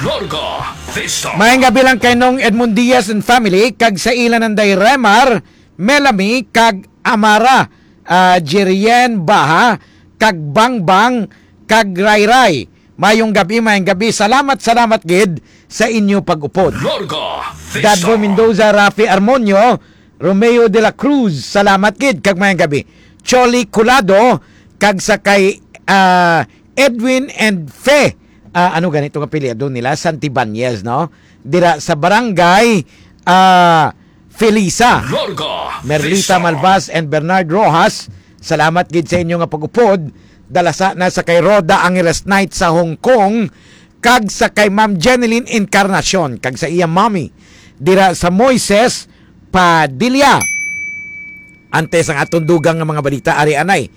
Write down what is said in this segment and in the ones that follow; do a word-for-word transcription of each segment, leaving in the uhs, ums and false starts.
Gorga Vista. Maayong gabi lang kay Nong Edmund Diaz and family, kag sa ila nanday Remar, Melanie, kag Amara, ah, Jerien Baha, kag Bangbang, kag Rayray. Mayong gabi, mayong gabi. Salamat, salamat gid sa inyo pag-upod. Gorga Vista. Dadbo Mendoza, Rafi Armonio, Romeo de la Cruz, salamat gid kag mayang gabi. Choli Colado, kag sa kay, ah, Edwin and Fe. Ah, ano ganito nga apelyido nila? Santibanez, no? Dira sa barangay, ah, Felisa. Larga Merlita Vista. Malvas and Bernard Rojas, salamat gid sa inyo nga pag-upod. Dala sa na sa kay Rhoda Angeles Knight sa Hong Kong, kag sa kay Ma'am Jeneline Encarnacion, kag sa iya mommy dira sa Moises Padilla. Antes ang aton dugang nga mga balita, ari anay,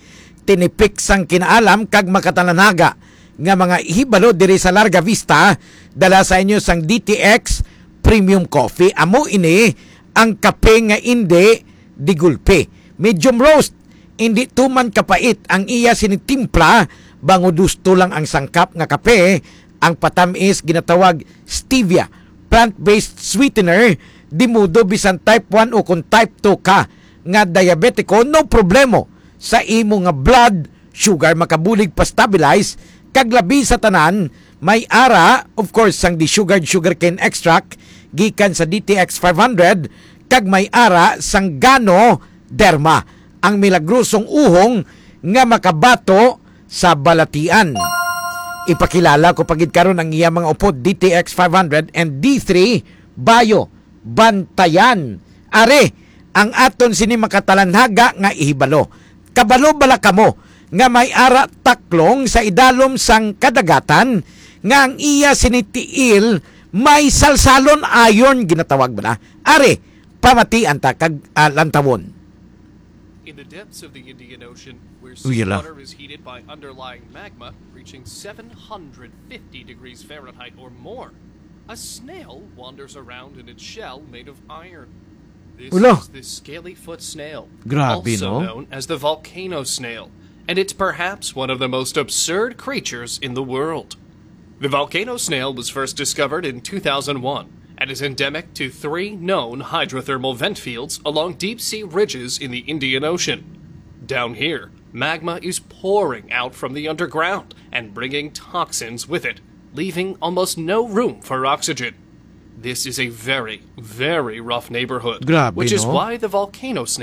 tinipik sang kinaalam kag makatalanaga nga mga hibalo diri sa Larga Vista, dala sa inyo sang D T X Premium Coffee. Amo ini ang kape nga indi digulpi. Medium roast, indi tuman kapait ang iya sini timpla, bangod husto lang ang sangkap nga kape, ang patamis ginatawag stevia, plant-based sweetener, di modo bisan type one o kung type two ka nga diabetiko, no problemo sa imo nga blood sugar, makabulig pa-stabilize, kag labi sa tanan, may ara, of course, sang desugared sugarcane extract gikan sa D T X five hundred, kag may ara sang Ganoderma, ang milagrosong uhong nga makabato sa balatian. Ipakilala ko pa gid karon ang iya mga upod, D T X five hundred and D three Bio Bantayan. Ari ang aton sini makatalanhaga nga ihibalo. Kabalo bala kamo nga may ara taklong sa idalom sang kadagatan nga ang iya sini tiil may salsalon, iron ginatawag bala? Ari, pamatian ta kag, ah, lantawon. In the depths of the Indian Ocean, where Uy, yala. Seawater is heated by underlying magma reaching seven hundred fifty degrees Fahrenheit or more, a snail wanders around in its shell made of iron. This Ula. Is the scaly foot snail, Grabe, also no? Known as the volcano snail, and it's perhaps one of the most absurd creatures in the world. The volcano snail was first discovered in two thousand one and is endemic to three known hydrothermal vent fields along deep sea ridges in the Indian Ocean. Down here, magma is pouring out from the underground and bringing toxins with it, leaving almost no room for oxygen. This is a very, very rough neighborhood, Grabe, which is no? Why the volcano snail